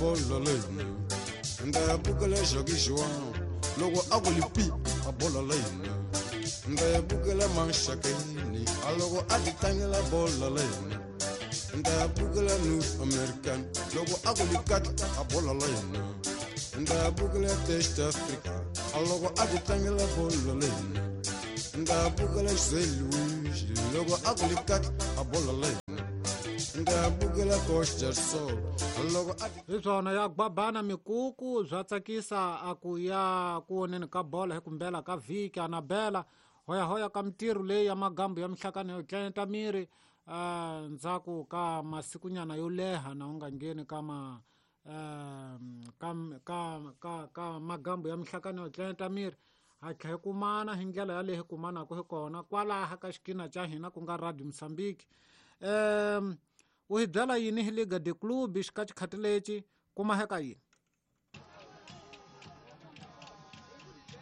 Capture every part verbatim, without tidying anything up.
bolo la hina ni ta ya bukela Jacques Joan loko a ku lipi a bolo la hina ni ta ya bukela Manshakeni a loko a ti tlangela bolo la hina ni ta ya bukela North American loko a ku likatla a bolo la hina ni ta ya bukela Test Africa a loko a ti tlangela bolo la hina ni ta ya bukela Louis loko a ku likatla a bolo la hina ni ta ya bukela Costa Sol a loko a hi swona ya gwabana mikuku bya tsakisa a ku ya ku voneni ka bolo hi kumbela ka vhiki anabela hoyahoya ka mitirho leyi ya magambu ya mihlakano yo tlenta miri uh, ndzhaku ka masikunyana yo leha na u nga ngheni ka ma uh, ka, ka, ka, ka magambu ya mihlakano yo tlenta miri ha tlhe kumana hi ndlela yaleyi hi kumanaka hi kona kwalaha ka xikina xa hina ku nga Radio Mozambique. Um u hi byela yini hi Liga de Clube xika xikhati lexi kuma heka yini?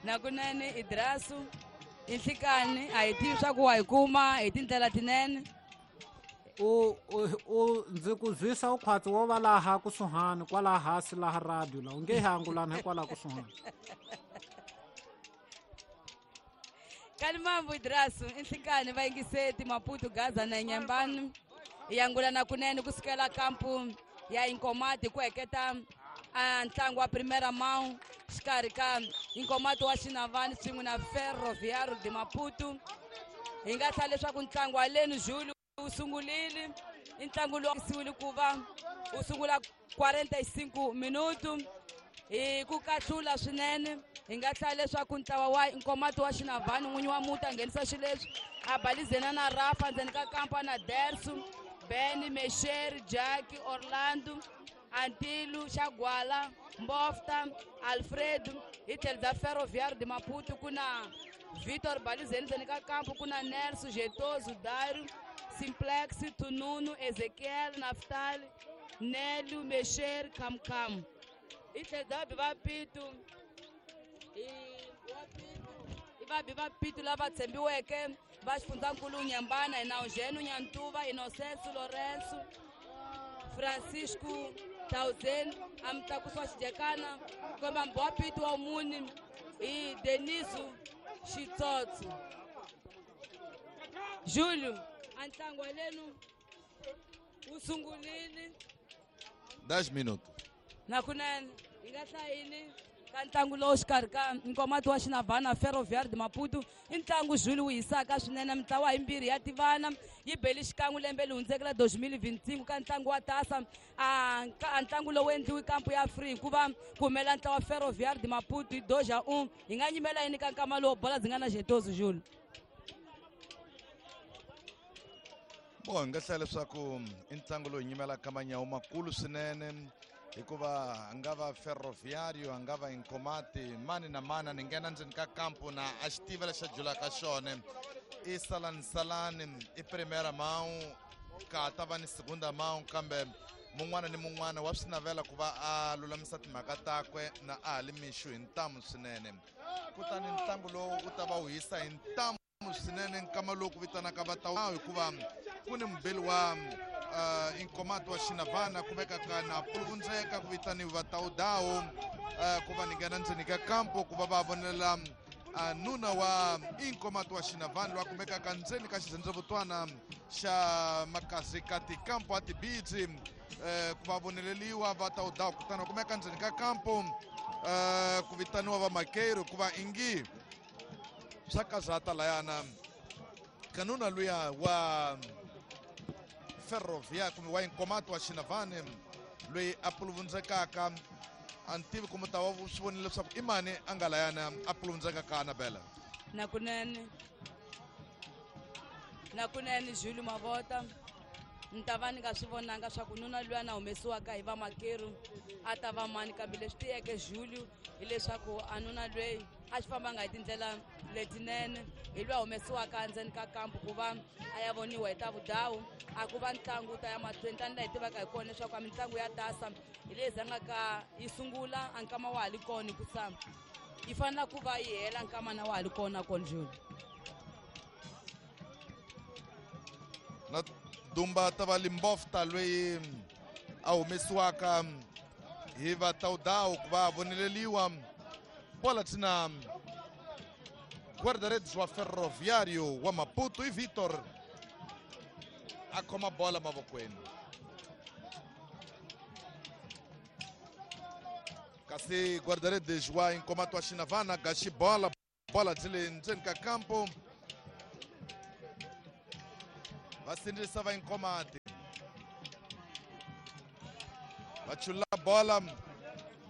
Nakunene Idrasu i nhlikani a hi tivi swa ku wa hi kuma hi tindlela tinene. U u ndzi ku zwisa u khwatsi wo va laha kusuhani kwalaha hansi laha radio la u nge hi angulani hikwalaha kusuhani. Kalimambu Idrasu i nhlikani va yingiseti Maputo Gaza na Nyambani hi angulana kunene kusukela kampu ya Inkomati ku heketa a ntlangu wa Primeira Mão xikarhi ka Inkomati wa Xinavani swin'we na Ferroviário de Maputo. Hi nga hlaya leswaku ntlangu wa leni Júlio wu sungulile i ntlangu lowu siwile ku va wu sungula quarenta e cinco minuto hi ku kahlula swinene. Hi nga hlaya leswaku ntlawa wa Inkomati wa Xinavani n'winyi wa muti a nghenisa xileswi a balizena na Rafa ndzeni ka kampa na Dersu Ben Mesher Jack Orlando Antilu Xagwala Mbofta Alfredo. Hi tlhelo bya Ferroviário de Maputo ku na Vitor Balizeni ndzeni ka kampo ku na Nelson Jetozo Dario Simplex Tununu Ezekiel Naftali Nelu Mesher Kamkam. Hi tlhelo bya vabi va Pitu i vabi va Pitu lava tshembiweke va xifundzankulu Nyambana hi na Eugênio Nyantuva Inocêncio Lourenço Francisco Tauzen a mutlakusi wa xijekana komba mbi wa Pitu wa muni hi Deniso Xitsotso. Júlio a ntlangu wa lenu wu sungulile dez minutos nakunene hi nga hlayini ka ntlangu lowu xikarhi ka Nkomati wa Xinavana Ferroviário de Maputo i ntlangu Júlio wu hisaka swinene mitlawa yimbirhi ya tivana yi beli xikan'we lembe leri hundzeke la dois mil e vinte e cinco ka ntlangu wa tasa a ntlangu lowu endliwi kampu ya free hikuva ku humela ntlawa wa Ferroviário de Maputo hi dois a um. Hi nga nyimela yini ka nkama lowu bola byi nga na Jetozo Júlio? Bo hi nga hlaya leswaku i ntlangu lowu hi nyimelaka manyawu makulu swinene hikuva a nga va Ferroviário a nga va Inkomati mani na mani ni nghena ndzeni ka kampu na a xi tiva lexi a julaka xona i salani salani i Primeira Mão ka ta va ni Segunda Mão kambe mun'wana ni mun'wana wa swi navela ku va a lulamisa timhaka takwe na a ha li mixo hi ntamu swinene. Kutani ntlangu lowu wu ta va wu hisa hi ntamu swinene nkama lowu ku vitanaka va ta hikuva ku ni mubeli wa uh, Inkomati wa Xinavana ku vekaka na puluvundzeka ku vitaniwa va Taudawo uh, ku va ni nghena ndzeni ka kampo ku va va vonela uh, nuna wa Inkomati wa Xinavana loyi a kumekaka ndzeni ka xirhendzevutwana xa Makazi ka tikampo a tibitsi uh, ku va voneleliwa va Taudawo kutani va kumeka ndzeni ka kampo uh, ku vitaniwa va Makeiro ku va ingi swa kazata layana kanuna luya wa Ferrovia kumbe wa Inkomati wa Xinavani loyi a puluvundzekaka a ni tivi ku ta va swi vonile leswaku i mani a nga layana a puluvundzekaka Anabela. Nakunene nakunene Júlio Mavota ni ta va ni nga swi vonanga swa ku nuna luya na humesiwaka hi vamakeru a ta va mani kambe leswi tiyeke Júlio hileswaku a nuna lweyi a xi fambanga hi tindlela letinene hi lwa humesiwaka endzeni ka kampu ku va a ya voniwa hi ta vudawu a ku va ntlangu wu ta ya mahlweni tanihi laha hi tivaka hi kona leswaku a mitlangu ya tasa hi leyi zangaka yi sungula a nkama wa ha li kona hikusa yi fanela ku va yi hela nkama na wa ha li kona kona Júlio. Na dumba ta va Limbofta loyi a humesiwaka Hi va Taudau ku va voneleliwa bola tina guarda-redes wa Ferroviário wa Maputo i Vitor a khoma bola mavokweni. Kasi guarda-redes wa Inkomati wa Xinavana gaxi bola bola byi le ndzeni ka kampo va sindzisa va Inkomati va chula bola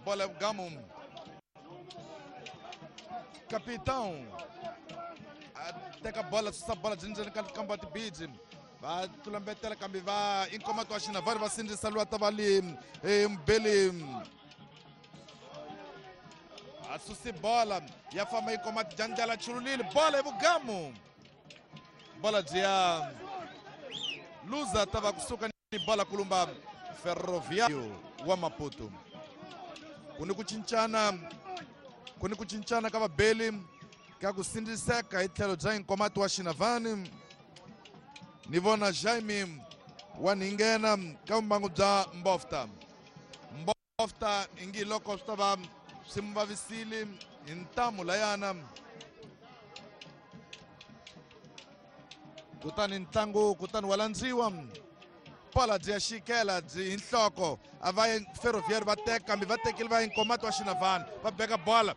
bola gamu capitão a teka bola susa bola byi ndzeni ka kampo ya tibidzi va tlulambetela kambe va Inkomati wa Xinavana va sindzisa lwa ta va li Mbeli a susi bola ya famba Inkomati jandlala chululile bola hi vugamu bola byi ya luza ta va kusuka ni bola kulumba Ferroviário wa Maputo. Ku ni ku cincana ku ni ku cincana ka vabeli ka ku sindziseka hi tlhelo bya Inkomati wa Xinavani. Ni vona Jaime wa Ninghena ka vumbangu bya Mbofta. Mbofta ingi loko swi ta va swi mu vavisile hi ntamu layana. Kutani ntlangu kutani wa landziwa bola byi ya xikela byi hi nhloko a va Ferroviário va teka kambe va tekile va Inkomati wa Xinavana va beka bola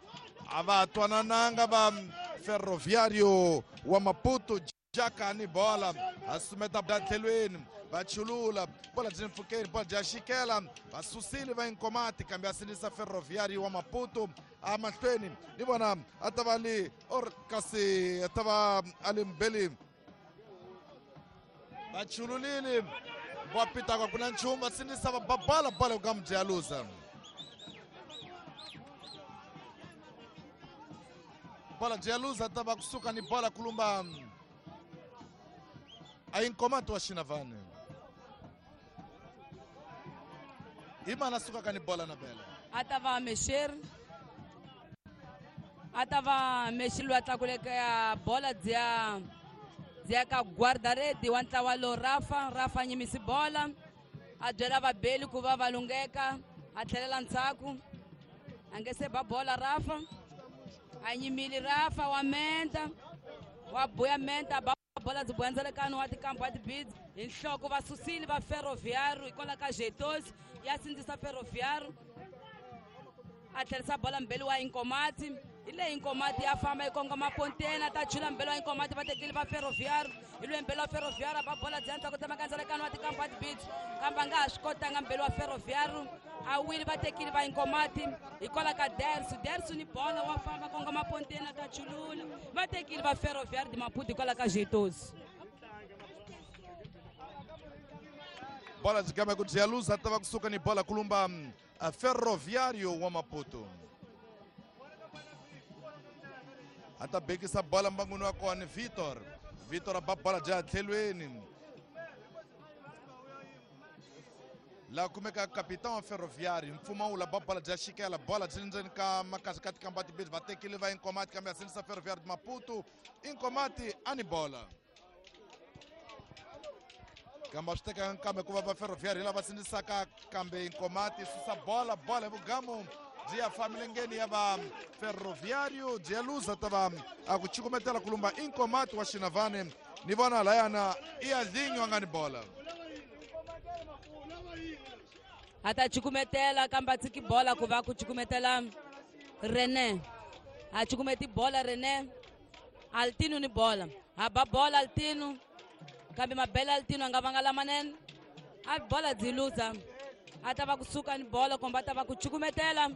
a va twanananga va Ferroviário wa Maputo jaka ni bola a sumeta bya tlhelweni va chulula bola byi mpfukeni bola bya xikela va susile va Inkomati kambe a sindzisa Ferroviário wa Maputo a mahlweni ni vona a ta va li or kasi a ta va a li Mbeli va chululile va pitaka ku na nchumu va sindzisa va ba bola bola ka mudya luza bola bya luza ta va kusuka ni bola kulumba a Inkomati wa Xinavana hi mana sukaka ni bola na bela a ta va mexer a ta va mexi loyi a tlakuleke ya bola bya bya ka guarda-rede wa ntlawa lowu Rafa Rafa nyimisi bola a byela vabeli ku va va lungheka a tlhelela ndzhaku a nge se ba bola Rafa a nyimile Rafa wa menta wa buya menta ba bola byi buyandzalekano wa tikampo wa tibidzi hi nhloko va susile va Ferroviário hikwalaho ka Jetos ya sindzisa Ferroviário a tlherisa bola mbeli wa Inkomati hi leyi Inkomati ya famba yi kongoma ponteni a ta chula mbeli wa Inkomati va tekile va Ferroviário hi loyi mbeli wa Ferroviário ba bola byi ya ndzhaku tsemaka ndzalekano wa tikampo wa tibidzi kambe a nga ha swi kotanga mbeli wa Ferroviário a wile va tekile va Inkomati hikwalaho ka Dersu Dersu ni bola wa famba kongoma ponteni a ta chulula va tekile va Ferroviário de Maputo hikwalaho ka Jetos. Bola byi gama ku bya luza ta va kusuka ni bola kulumba Ferroviário wa Maputo a ta bekisa bola mbangwini wa kona Vitor Vitor a ba bola bya tlhelweni la kumeka capitão wa Ferroviário mpfumawula ba bola bya xikela bola byi ndzeni ka makasi ka tikamba tibirhi va tekile va Inkomati kambe a sindzisa Ferroviário de Maputo Inkomati a ni bola kambe a swi tekanga kambe ku va va Ferroviário lava sindzisaka kambe Inkomati susa bola bola hi vugamu byi ya fa milengeni ya va Ferroviário byi ya luza ta va a ku cukumetela kulumba Inkomati wa Xinavane ni vona layana i ya linyo a nga ni bola a ta cukumetela kambe a tshiki bola ku va ku cukumetela René a cukumeti bola René Altino ni bola a ba bola Altino kambe mabele Altino a nga vanga lamanene a bola byi luza a ta va kusuka ni bola kumbe a ta va ku cukumetela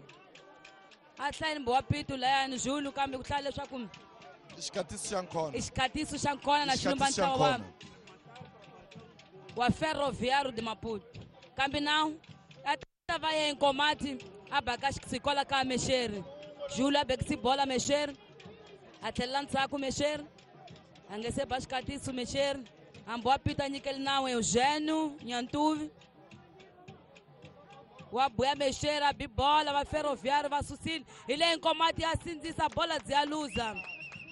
a hlayini mbowa pitu layani Zulu kambe ku hlaya leswaku i xikatiso xa nkhona i xikatiso xa nkhona na xilumba ntlawa wa wa Ferroviário de Maputo kambe nawu a ta va ye Inkomati a baka xikola ka Mexeri Zulu a bekisi bola Mexeri a tlhelela ndzhaku Mexeri a nge se ba xikatiso Mexeri hambi wa pita nyikeli nawu Eugênio Nyantuvi wa buya Mexeri a bi bola va Ferroviário va susile hi leyi Inkomati ya sindzisa bola byi ya luza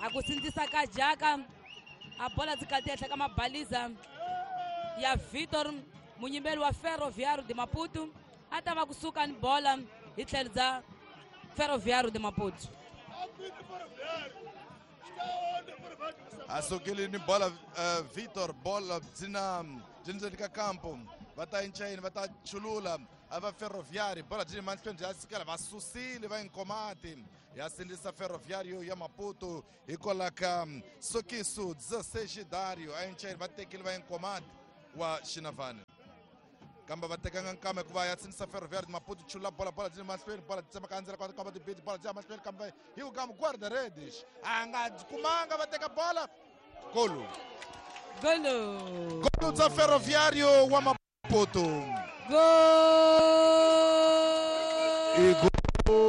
a ku sindzisa ka jaka a bola byi kati henhla ka mabaliza ya Vitor munyimeli wa Ferroviário de Maputo A ta va kusuka ni bola hi tlhelo bya Ferroviário de Maputo. A sukile ni bola uh, Vitor bola byi byi ndzeni ka kampo va ta enchayini va ta chulula a va Ferroviário bola byi mahlweni bya sikela va susile va Inkomati ya sindzisa Ferroviário ya Maputo hikwalaho ka Sokiso dezesseis Dario a enchayini va tekile va Inkomati wa Xinavane kambe va tekanga nkama hikuva ya sindzisa Ferroviário Maputo chula bola bola byi mahlweni bola byi tsemaka endzeni ka ka tibiti bola byi ya mahlweni kambe hi ku kama guarda redes a nga kumanga va teka bola golo golo golo bya Ferroviário wa Maputo gol i